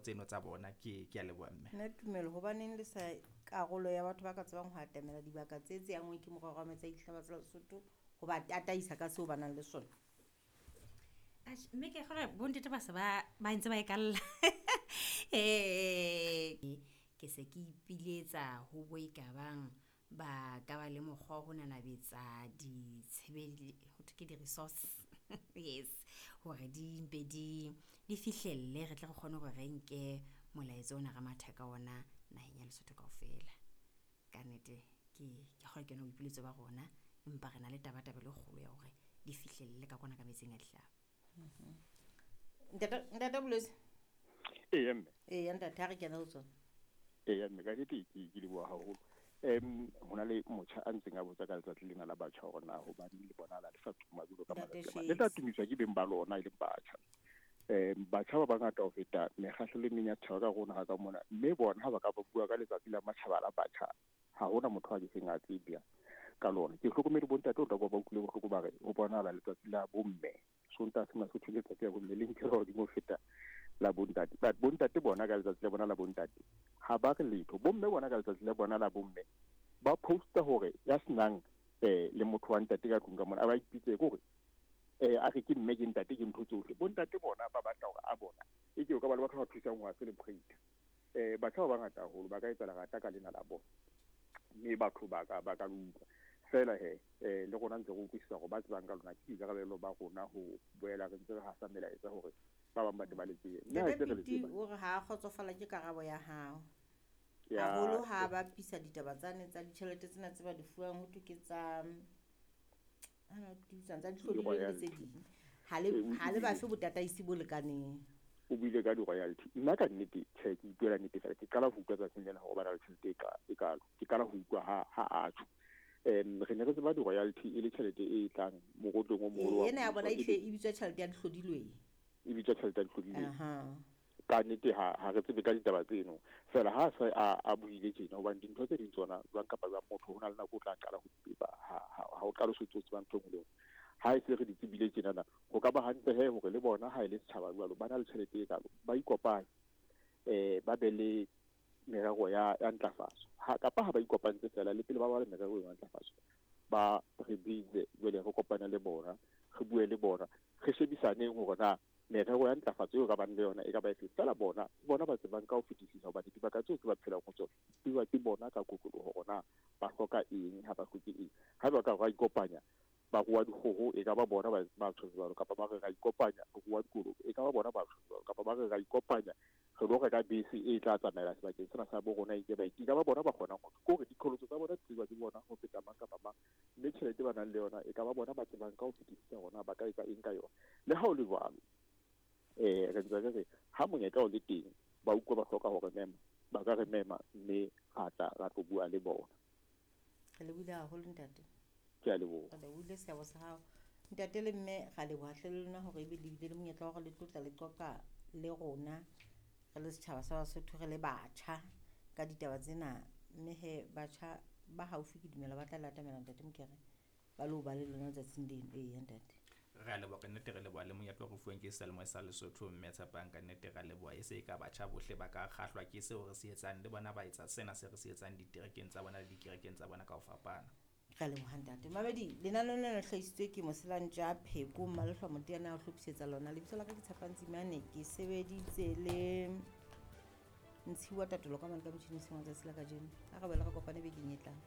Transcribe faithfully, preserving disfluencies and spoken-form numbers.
tseno tsa bona. Ke ke a leboha mme. Nna Tumelo, hobaneng le sa karolo ya batho ba ka tsebang ho atamela dibaka tse tse anngweng ke morero wa metsi a dihlaba tsa Lesotho ho ba tataisa ka seo ba nang le sona? Atjhe, mme ke kgolwa bontate ba se ba ba ntse ba e kalla. Eh, ke se ke ipiletsa ho bo e ka bang ba ka ba le mokgwa wa ho nanabetsa ditshebele ho thwe ke di-resource yes, hore di mpe di di fihlelle, re tle re kgone hore re nke molaetsa ona re matha ka ona naheng ya Lesotho kaofela. Ka nnete ke ke kgolwa ke yona boipiletso ba rona, empa re na le tabatabelo e kgolo ya hore di fihlelle ka kwana ka metsing a dihlaba. Ntate Ntate Bolwetse. Eya mme. Eya ntate, ha re kena ho tsona. Eya mme, ka nnete ke ke leboha haholo. Em ho na le motjha a ntseng a botsa ka letsatsi lena la batjha hore na hobaneng le bonahala le sa tuma jwalo ka Ntate matsatsi a mang. Le tla Shakes. tumiswa ke beng ba lona e leng batjha. Em batjha ba bangata ho feta mekgahlelo e meng ya setjhaba ka rona ha ka mona, mme bona ha ba ka ba bua ka letsatsi la matjhaba la batjha, ha hona motho a ke seng a tsebja ka lona. Ke hlokomele bontate o tla kwa ba utlwile bohloko ba re ho bonahala letsatsi la bomme Sontaha sena se thwe letsatsi la bomme le nkelwa hodimo ho feta la bontate. But bontate bona ka letsatsi la bona la bontate ha ba re letho. Bomme bona ka letsatsi la bona la bomme ba posta hore ya senang eh le motho wa ntate ka tlung ka mona a ba ipitse ke hore eh a re ke mme ke ntate ke ntho tsohle. Bontate bona ba batla hore a bona e ke o ka ba le batho ba thusang ho a celebrate. Eh batjha ba bangata haholo ba ka etsa lerata ka lena la bona, mme batho ba ka ba ka le utlwa fela he. Eh le rona ntse re utlwisisa hore ba tsebang ka lona ke boikarabelo ba rona ho boela re ntse re hasa melaetsa hore ba bang ba tle ba le tsebe. Mme ha Ntate ntse re le Piti tseba o re ha a kgotsofala ke karabo ya hao. Ya, Haholo ha ba bapisa ditaba tsane tsa ditjhelete tsena tse ba di fuwang ho thwe ke tsa ana di bitswang tsa dihlodilweng le tse Di-royalty. ding. Ha le Eh, o ha le buile bafe botataisi bo lekaneng. O buile ka di-royalty. Nna ka nnete tjhe, ke ipuela nnete fela, ke qala ho utlwa tsatsing lena hore ba na le tjhelete e ka e kalo. Ke qala ho utlwa ha ha a tjho. Em re ne re tseba di-royalty e le tjhelete e tlang mokotleng o moholo wa Ena ya mmuso, bona e e e bitswa tjhelete ya dihlodilweng. E bitswa tjhelete ya dihlodilweng. Aha. Ka nnete ha ha re tsebe ka ditaba tseno. Fela ha se a a buile tjena, hobane dintho tse ding tsona jwang kapa jwang motho ho na le nako o tla qala ho di tseba, ha ha ha o qale o so tseba ntho e nngwe le e nngwe. Ha e se re di tsebile tjenana, ho ka ba hantle he hore le bona ha e le setjhaba jwalo ba na le tjhelete e kalo, ba ikopanye eh ba be le merero ya ya ntlafatso. Ha kapa ha ba ikopantse fela le pele ba ba le merero ya ntlafatso, ba re bitse jwale re kopane le bona, re bue le bona, re shebisaneng hore na merero ya ntlafatso eo ka bang le yona e ka ba efe. Fela bona bona ba tsebang ka ho fetisisa, hobane dibaka tseo tse ba phelang ho tsona di tsejwa ke bona ka kotloloho hore na ba hloka eng, ha ba hloke eng. Ha ba ka ra ikopanya ba rua dikgoho, e ka ba bona ba ba tjho jwalo, kapa ba re ra ikopanya re rua dikolobe, e ka ba bona ba tjho jwalo, kapa ba re ra ikopanya re lo reka bese e tla tsamaela sebakeng sena sa bo rona e ke ba e ka ba bona ba kgonang ho ke hore diqholotso tsa bona di tsejwa ke bona ho feta mang kapa mang, mme tjhelete ba nang le yona e ka ba bona ba tsebang ka ho fetisisa hore na ba ka etsa eng ka yona. Le ha ho le jwalo, eh re ntse re re ha monyetla o le teng, ba utlwa ba hloka hore mema, ba ka re mema mme ra tla ra tlo bua le bona. Re lebohile haholo ntate. Ke a leboha. Re lebohile seabo sa hao. Ntate le mme, ra leboha hle le lona hore ebe le bile le monyetla wa hore le tlotla le qoqa le rona re le setjhaba sa Basotho, re le batjha ka ditaba tsena. Mme he batjha ba haufi ke dumela ba tla le atamela ntate Mokere, ba lo ba le lona letsatsing leno. Eya ntate. Re a leboha ka nnete, re leboha le monyetla o re fuweng ke seyalemoya sa Lesotho, mme Tshepang ka nnete re a leboha. E se e ka batjha bohle ba ka kgahlwa ke seo re se etsang, le bona ba etsa sena se re se etsang diterekeng tsa bona le dikerekeng tsa bona ka ho fapana. Re a leboha ntate. Mamedi, lenaneo lena le hlahisitswe ke Moselantja Pheko, Mmalehlwa Moteana a o hlophisetsa lona. Lebitso la ka ke Tshepang Tsimane, ke sebeditse le Ntshiwa Tatolo ka mane ka motjhini sengwe tsatsi la kajeno. Ha re boela re kopane bekeng e tlang.